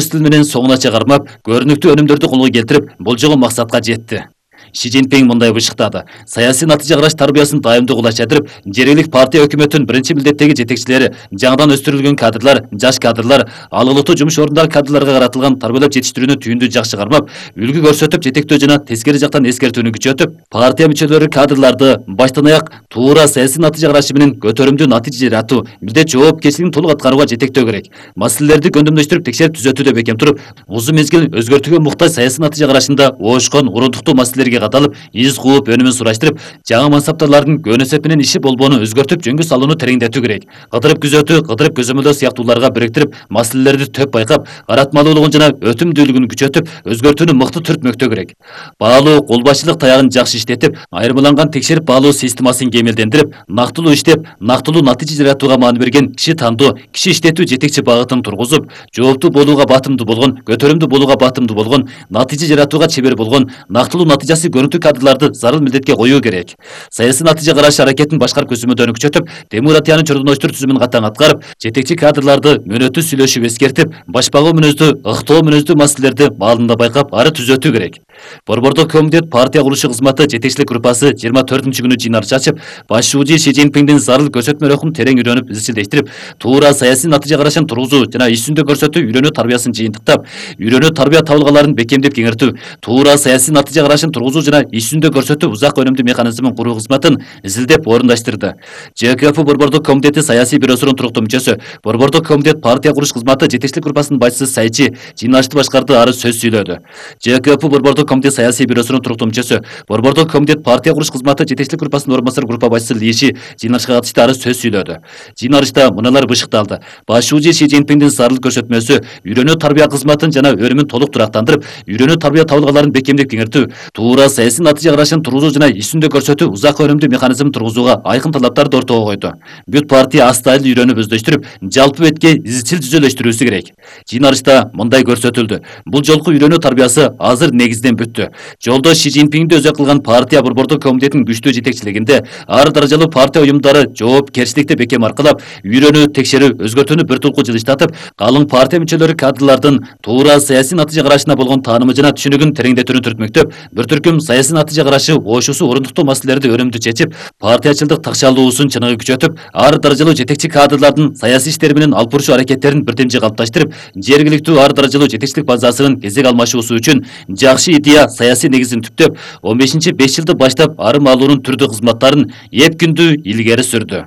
тил менен соңунача кармап, көрүнүктүү өнүмдөрдү колго келтирип, болжогон максатка жетти. Ши Цзиньпин мындай бышыктады. Саясий натыйжа караш тарбиясын дайымдуу кулачадырып, жергиликтүү партия өкмөттүн биринчи милдеттеги жетекчилери, жаңыдан өстүрүлгөн кадрлар, жаш кадрлар, алгылыктуу жумуш орундар кадрларга каратылган тарбиялап жетиштирүүнү түйүндүү жакшы кармап, үлгү көрсөтүп, жетектөө жана тескери жактан эскертүүнү күчөтүп, партия мүчөлөрү кадрларды баштан аяк туура саясий натыйжа карашы менен көтөрүмдүү натыйжа жаратуу, милдет жоопкерчилигин толук аткарууга жетектөө керек. Маселелерди көндөмдөштүрүп, текшерип түзөтүүдө бекем туруп, узун мезгил өзгөртүүгө муктаж саясий натыйжа карашында оошкон, урундуктуу маселелерге каталып, из кууп, өнүмүн сураштырып, жаңы мансаптарлардын көнөсөп менен иши болбоону өзгөртүп, жөнгө салууну тереңдетүү керек. Кыдырып күзөтүү, кыдырып көзөмөлдөө сыяктууларга бириктирип, маселелерди төп байкап, каратмалуулугун жана өтүмдүүлүгүн күчөтүп, өзгөртүүнү мыкты түртмөктөө керек. Баалуу, кол башчылык таягын жакшы иштетип, айырмаланган текшерип баалоо системасын кемелдендирип, нактылуу иштеп, нактылуу натыйжа жаратууга маани берген киши тандоо, киши иштетүү жетекчи багытын тургузуп, жооптуу болууга батымдуу болгон, көтөрүмдүү болууга батымдуу болгон, натыйжа жаратууга чебер болгон, нактылуу натыйжасы көрүнүктүү кадрларды зарыл милдетке коюу керек. Саясий натыйжа караш аракетин башкарып көзөмөлдөөнү күчөтүп, демократиянын чордоноштур түзүмүн катаң аткарып, жетекчи кадрларды мөөнөттүү сүйлөшүп эскертип, башпагуу мүнөздүү, ыктоо мүнөздүү маселелерди маалында байкап, ары түзөтүү керек. Борбордук комитет партия курулушу кызматы жетекчилик группасы 24-күнү жыйналыш ачып, башчы Ши Цзиньпиндин зарыл көрсөтмө рухун терең үйрөнүп, изчилдештирип, туура саясий натыйжа карашын тургузуу жана иш жүзүндө көрсөтүү үйрөнүү тарбиясын жыйынтыктап, үйрөнүү тарбия табылгаларын бекемдеп кеңиртүү, туура саясий натыйжа карашын тургузуу жана иш жүзүндө көрсөтүү узак өнүмдүү механизмин куруу кызматын изилдеп орундаштырды. ЖКФ Борбордук комитети саясий бюросунун туруктуу мүчөсү, Борбордук комитет партия куруш кызматы жетекчилик группасынын башчысы Сайчи жыйналышты башкарды, ары сөз сүйлөдү. ЖКФ Борбордук комитет саясий бюросунун туруктуу мүчөсү, Борбордук комитет партия куруш кызматы жетекчилик группасынын орун басары группа башчысы Лиши жыйналышка катышты, ары сөз сүйлөдү. Жыйналышта мыналар бышыкталды. Башчы Ши Цзиньпиндин зарыл көрсөтмөсү үйрөнүү тарбия кызматын жана өнүмүн толук турактандырып, үйрөнүү тарбия табылгаларын бекемдеп кеңиртүү, туура саясий натыйжа карашын тургузуу жана иш жүзүндө көрсөтүү узак өнүмдүү механизмин тургузууга айкын талаптарды ортого койду. Бүт партия астайлы үйрөнүп өздөштүрүп, жалпы бетке изчил түзөлөштүрүүсү керек. Жыйналышта мындай көрсөтүлдү. Бул жолку үйрөнүү тарбиясы азыр негизден бүттү. Жолдо Ши Цзиньпинди өзөк кылган партия Борбордук комитетинин күчтүү жетекчилигинде ар даражалуу партия уюмдары жоопкерчиликти бекем аркылап, үйрөнүү, текшерүү, өзгөртүүнү бир тулку жылыштатып, калың партия мүчөлөрү кадрлардын туура саясий натыйжа карашына болгон таанымы жана түшүнүгүн тереңдетүүнү түртмөктөп, бир түркүм саясий натыйжа карашы оошусу орундуктуу маселелерди өнүмдүү чечип, партиячылдык такшалуусун чыныгы күчөтүп, ар даражалуу жетекчи кадрлардын саясий иштери менен алып бурушу аракеттерин бирдемжи калыпташтырып, жергиликтүү ар даражалуу жетекчилик базасынын кезек алмашуусу үчүн жакшы идея саясий негизин түптөп, 15-5 жылды баштап ары маалуунун түрдүү кызматтарын эп күндүү илгери сүрдү.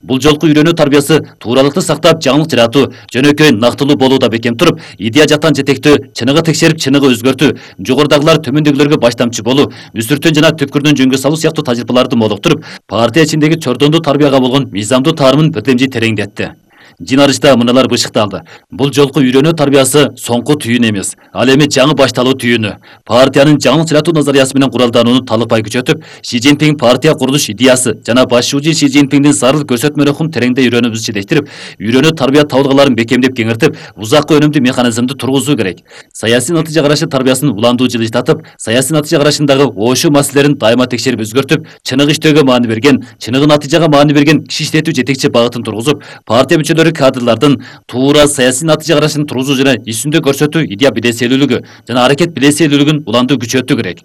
Бул жолку үйрөнүү тарбиясы тууралыкты сактап, жаңылык жаратуу, жөнөкөй нактылуу болууда бекем туруп, идея жактан жетектөө, чыныгы текшерип, чыныгы өзгөртүү, жогорудагылар төмөндөгүлөргө баштамчы болуу, үстүртөн жана түпкүрдөн жөнгө салуу сыяктуу тажрыйбаларды молуктуруп, партия ичиндеги чордондуу тарбияга болгон мыйзамдуу таарымын бирдемжи тереңдетти. Жыйналышта мыналар бышыкталды. Бул жолку үйрөнүү тарбиясы соңку түйүн эмес, ал эми жаңы башталуу түйүнү. Партиянын жаңылык жаратуу назариясы менен куралданууну талыкпай күчөтүп, Ши Цзиньпин партия курулуш идеясы жана башчы Ши Цзиньпиндин зарыл көрсөтмө рухун тереңдей үйрөнүп изчилештирип, үйрөнүү тарбия табылгаларын бекемдеп кеңиртип, узак өнүмдүү механизмди тургузуу керек. Саясий натыйжа карашы тарбиясын уландуу жылыштатып, саясий натыйжа карашындагы оошуу маселелерин дайыма текшерип өзгөртүп, чыныгы иштөөгө маани берген, чыныгы натыйжага маани берген киши иштетүү жетекчи багытын тургузуп, партия мүчөлөрү кадрлардын туура саясий натыйжа карашын тургузуу жана иш жүзүндө көрсөтүү идея билесийлүүлүгү жана аракет билесийлүүлүгүн уландуу күчөтүү керек.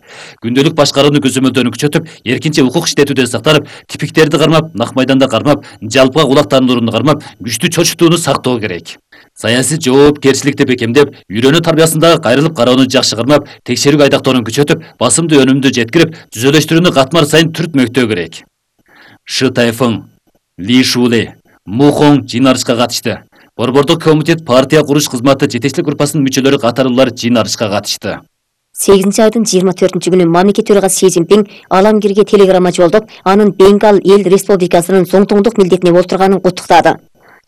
Күндөлүк башкарууну көзөмөлдөөнү күчөтүп, эркинче укук иштетүүдө сактанып, типиктерди кармап, нак майданда кармап, жалпыга кулактандырууну кармап, күчтүү чочутууну сактоо керек. Саясий жоопкерчиликти бекемдеп, үйрөнүү тарбиясындагы кайрылып кароону жакшы кармап, текшерүүгө айдактоону күчөтүп, басымды өнүмдү жеткирип, түзөлөштүрүүнү катмар сайын түртмөктөө керек. Шы Тайфың, Ли Шуле, Мухоң жыйналышка катышты. Борбордук комитет партия куруш кызматы жетекчилик группасынын мүчөлөрү катарлуулар жыйналышка катышты. 8-айдын 24-күнү мамлекет төрагасы Ши Цзиньпин Аламгирге телеграмма жолдоп, анын Бенгал эл республикасынын зоңтоңдук милдетине олтурганын куттуктады.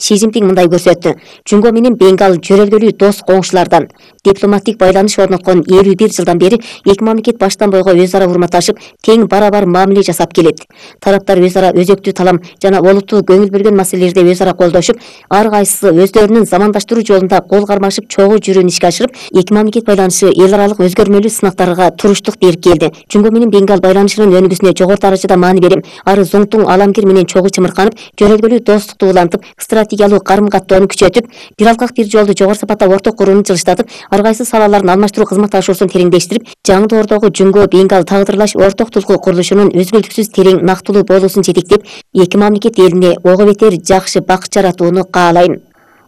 Ши Цзиньпин мындай көрсөттү. Жунго менен Бенгал жөрөлгөлүү дос коңшулардан дипломатик байланыш орноткон 51 жылдан бери эки мамлекет баштан бойго өз ара урматташып, тең барабар мамиле жасап келет. Тараптар өз ара өзөктүү талам жана олуттуу көңүл бөлгөн маселелерде өз ара колдошуп, ар кайсысы өздөрүнүн замандаштыруу жолунда кол кармашып чогуу жүрүүнү ишке ашырып, эки мамлекет байланышы эл аралык өзгөрмөлүү сынактарга туруштук берип келди. Жунго менен Бенгал байланышынын өнүгүүсүнө жогору даражада маани берем, ары зоңтуң Аламгир менен чогуу чымырканып, жөрөлгөлүү достукту улантып, стратегиялык карым-каттоону күчөтүп, бир алкак бир жолду жогору сапатта орток курууну жылыштатып, ар кайсы салаларын алмаштыруу кызматташуусун тереңдештирип, жаңы доордогу Жүнгө Бенгал тагдырлаш орток тулкуу курулушунун үзгүлтүксүз терең нактылуу болуусун жетектеп, эки мамлекет элине ого бетер жакшы бакыт жаратууну каалайм.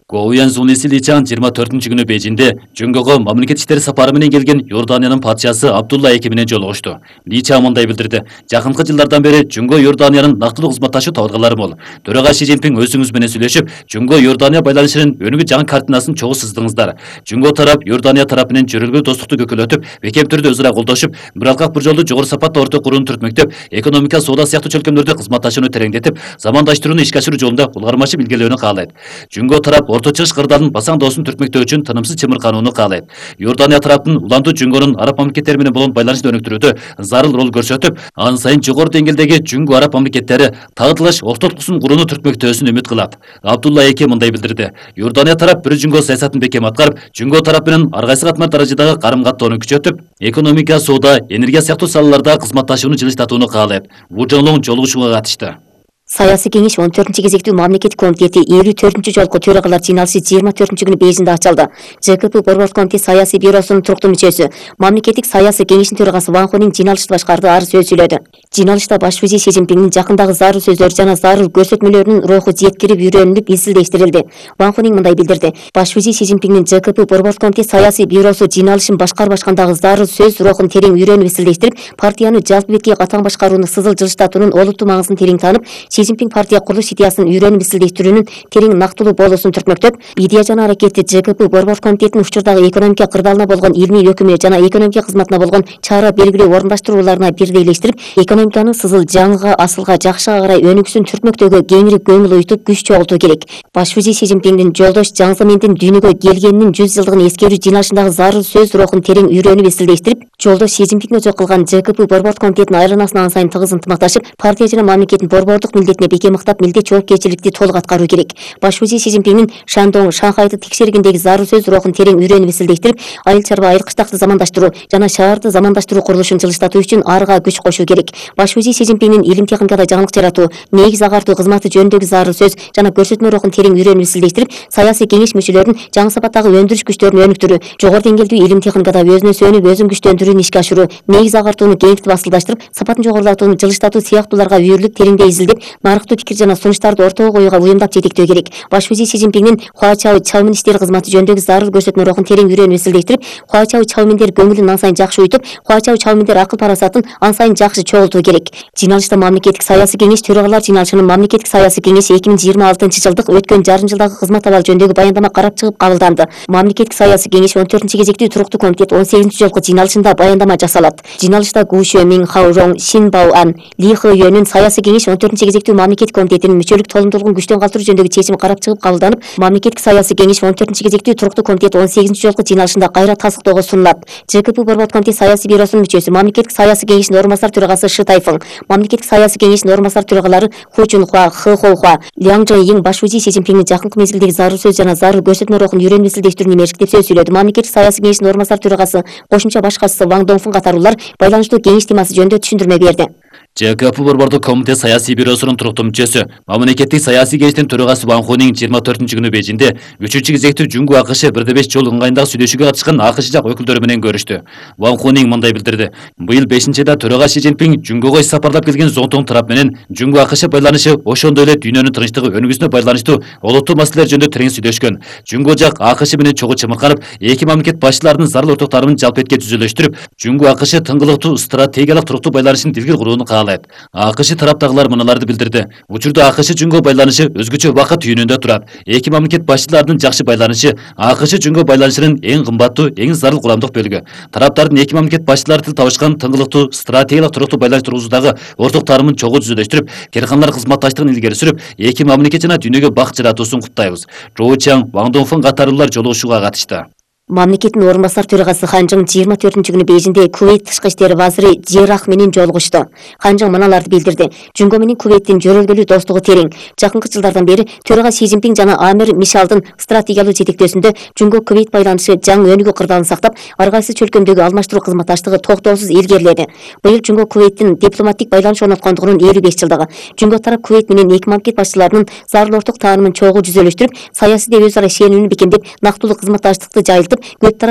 Гоуян Зуниси Личан 24-күнү Бейжинде Жүнгөгө мамлекет иштери сапары менен келген Иорданиянын падышасы Абдулла II менен жолугушту. Личан мындай билдирди: "Жакынкы жылдардан бери Жүнгө Иорданиянын нактылуу кызматташуу табылгалары мол. Төрага Си Цзиньпин өзүңүз менен сүйлөшүп, Жүнгө Иордания байланышынын өнүгүү жаңы картинасын чогуу сыздыңыздар. Жүнгө тарап Иордания тарапы менен жөрөлгө достукту көкөлөтүп, бекем түрдө өзара колдошуп, бир алкак бир жолду жогору сапатта орток курууну түртмөктөп, экономика, соода сыяктуу чөлкөмдөрдө кызматташууну тереңдетип, замандаштырууну ишке ашыруу жолунда улгармачы илгерилөөнү каалайт. Жүнгө тарап Орто Чыгыш кырдаалдын басаңдоосун түртмөктөө үчүн тынымсыз чымырканууну каалайт. Иордания тараптын улантуу Жүнгөнүн араб мамлекеттери менен болгон байланышты өнүктүрүүдө зарыл роль көрсөтүп, ан сайын жогору деңгээлдеги Жүнгө араб мамлекеттери тагдырлаш ортолуксун курууну түртмөктөөсүн үмүт кылат. Абдулла II мындай билдирди: "Иордания тарап бир Жүнгө саясатын бекем аткарып, Жүнгө тарап менен ар кайсы катмар даражадагы карым-каттоону күчөтүп, экономика, соода, энергия сыяктуу салаларда кызматташууну жылыштатууну каалайт." Ву Жоңлоң жолугушууга катышты. Саясий кеңеш 14 кезектүү мамлекеттик комитети 54 жолку төрагалар жыйналышы 24 күнү Бейжиңде ачылды. ЖКП Борбор комитет саясий бюросунун туруктуу мүчөсү, мамлекеттик саясий кеңештин төрагасы Ван Хунин жыйналышты башкарды, ары сөз сүйлөдү. Жыйналышта баш вазир Си Цзиньпиндин жакындагы зарыл сөздөр жана зарыл көрсөтмөлөрүнүн руху жеткирип үйрөнүлүп, изилдештирилди. Ван Хунин мындай билдирди: "Баш вазир Си Цзиньпиндин ЖКП Борбор комитет саясий бюросу жыйналышын башкарбашкандагы зарыл сөз рухун терең үйрөнүп, изилдештирип, партияны жалпы бетке катаң башкарууну сызыл жылыштатуунун олуттуу маңызын терең таанып, Си Цзиньпин партия курулуш идеясын үйрөнүп, изилдештирүүнүн терең нактылуу болуусун түртмөктөп, идея жана аракети ЖКП Борбор комитетинин учурдагы экономика кырдаалына болгон илмий өкүмү жана экономика кызматына болгон чара белгилүү орундаштырууларына бирдейлештирип, экономиканын сызыл жаңыга, асылга, жакшыга карай өнүгүүсүн түртмөктөгө кеңири көңүл уютуп, күч чогултуу керек. Баш вазир Си Цзиньпиндин жолдош Жаң Земиндин дүйнөгө келгенинин 100 жылдыгын эскерүү жыйналышындагы зарыл сөз рухун терең үйрөнүп, изилдештирип, жолдош Си Цзиньпин өчө кылган ЖКП Борбор комитетинин айранасына ан сайын тыгыз ынтымакташып, партия жана мамлекеттин борбордук милдетине бекем ыктап, милдет жоопкерчиликти толук аткаруу керек. Баш вазир Си Цзиньпиндин Шандong, Шанхайды текшергендеги зарыл сөз рухун терең үйрөнүп, изилдештирип, айыл чарба, айыл кыштакты замандаштыруу жана шаарды замандаштыруу курулушун жылыштатуу үчүн арга күч кошуу керек. Баш вазир Си Цзиньпиндин илим техникада жаңылык жаратуу, негиз агартуу кызматы жөнүндөгү зарыл сөз жана көрсөтмө рухун терең үйрөнүп, изилдештирип, саясий кеңеш мүчөлөрүнүн жаңы сапаттагы өндүрүш күчтөрүн өнүктүрүү, жогору деңгээлдүү илим техникада өзүнө сөнүп, өзүн күчтөндүрүүнү ишке ашыруу, негиз агартууну кеңейтип асылдаштырып, сапатын жогорулатууну жылыштатуу сыяктууларга үйрүлүп, тереңдей изилдеп, нарыктуу пикир жана сунуштарды ортого коюуга уюмдап жетектөө керек. Баш вазир Си Цзиньпиндин Хуачао Чаомин иштери кызматы жөнүндөгү зарыл көрсөтмө рухун терең үйрөнүп, изилдештирип, Хуачао Чаоминдер көңүлүн ан сайын жакшы уютуп, Хуачао Чаоминдер акыл парасатын ан сайын жакшы чогултуу керек. Жыйналышта мамлекеттик саясий кеңеш төрагалар жыйналышынын мамлекеттик саясий кеңеши 2026 жылдык өткөн жарым жылдагы кызмат абалы жөнүндөгү баяндама карап чыгып кабылданды. Мамлекеттик саясий кеңеш 14 кезектүү туруктуу комитет 18 жолку жыйналышында баяндама жасалат. Жыйналышта Гу Шуэмин, Хао Рong, Шин Бао Ан, Ли Хэ Юэнин саясий кеңеш 14 кезектүү мамлекеттик комитетинин мүчөлүк толумдуулугун күчтөн калтыруу жөнүндөгү чечими карап чыгып кабылданып, мамлекеттик саясий кеңеш 14 кезектүү туруктуу комитет 18 жолку жыйналышында кайра тастыктоого сунулат. ЖКП Борбор комитет саясий бюросунун мүчөсү, мамлекеттик саясий кеңештин орун басар төрагасы Шы Тайфың, мамлекеттик саясий кеңештин орун басар төрагалары Ху Чунхуа, Хэ Хоухуа, Ляң Чжэйин баш вазир Си Цзиньпиндин жакынкы мезгилдеги зарыл сөз жана зарыл көрсөтмө рухун үйрөнүп, изилдештирүүнү мээрчиктеп сөз сүйлөдү. Мамлекеттик саясий кеңештин орун басар төрагасы, кошумча баш катчысы Ван Доңфун катарлуулар байланыштуу кеңеш темасы жөнүндө түшүндүрмө берди. ЖКП Борбордук комитет саясий бюросунун туруктуу мүчөсү, мамлекеттик саясий кеңештин төрагасы Ван Хунин 24 күнү Бейжиңде 3 кезектүү Жүнгө АКШ 1/5 жол ыңгайындагы сүйлөшүүгө катышкан АКШ жак өкүлдөрү менен көрүштү. Ван Хунин мындай билдирди: "Быйыл 5-айда төрага Си Цзиньпин Жүнгөгө иш сапарлап келген Зоңтоң тарап менен Жүнгө АКШ байланышы ошондой эле дүйнөнүн тынчтыгы өнүгүүсүнө байланыштуу олуттуу маселелер жөнүндө терең сүйлөшкөн. Жүнгө жак АКШ менен чогуу чымырканып, эки мамлекет башчыларынын зарыл ортокторун жалпы этке түзүлөштүрүп, Жүнгө АКШ тыңгылыктуу стратегиялык туруктуу байланышын дилгир курууну каалайт. АКШ тараптагылар мыналарды билдирди: "Учурда АКШ Жүнгө байланышы өзгөчө убакыт түйүнүндө турат. Эки мамлекет башчыларынын жакшы байланышы АКШ Жүнгө байланышынын эң кымбаттуу, эң зарыл курамдык бөлүгү. Тараптардын эки мамлекет башчылары тил табышкан тыңгылыктуу стратегиялык туруктуу байланыш тургузуудагы орток таанымын чогуу түзүлөштүрүп, керканлар кызматташтыгын илгери сүрүп, эки мамлекет жана дүйнөгө бакыт жаратуусун куттайбыз." Жоу Чаң, Ван Доңфун катарлуулар жолугушууга катышты. Мамлекеттин орун басар төрагасы Ханжың 24-күнү Бейжиңде Кувейт тышкы иштер вазири Жерах менен жолугушту. Ханжың мыналарды билдирди. Жунго менен Кувейттин жөрөлгөлүү достугу терең. Жакынкы жылдардан бери төрага Си Цзиньпин жана Амир Мишалдын стратегиялык жетектөөсүндө Жунго Кувейт байланышы жаңы өнүгүү кырдаалын сактап, ар кайсы чөлкөмдөгү алмаштыруу кызматташтыгы токтоосуз илгериледи. Быйыл Жунго Кувейттин дипломатик байланыш орноткондугунун 55 жылдыгы. Жунго тарап Кувейт менен эки мамлекет башчыларынын зарыл орток таанымын чогуу жүзөлөштүрүп, саясий деп өз ара ишенимini бекемдеп, нактылуу кызматташтыкты жайылтып, көп тарап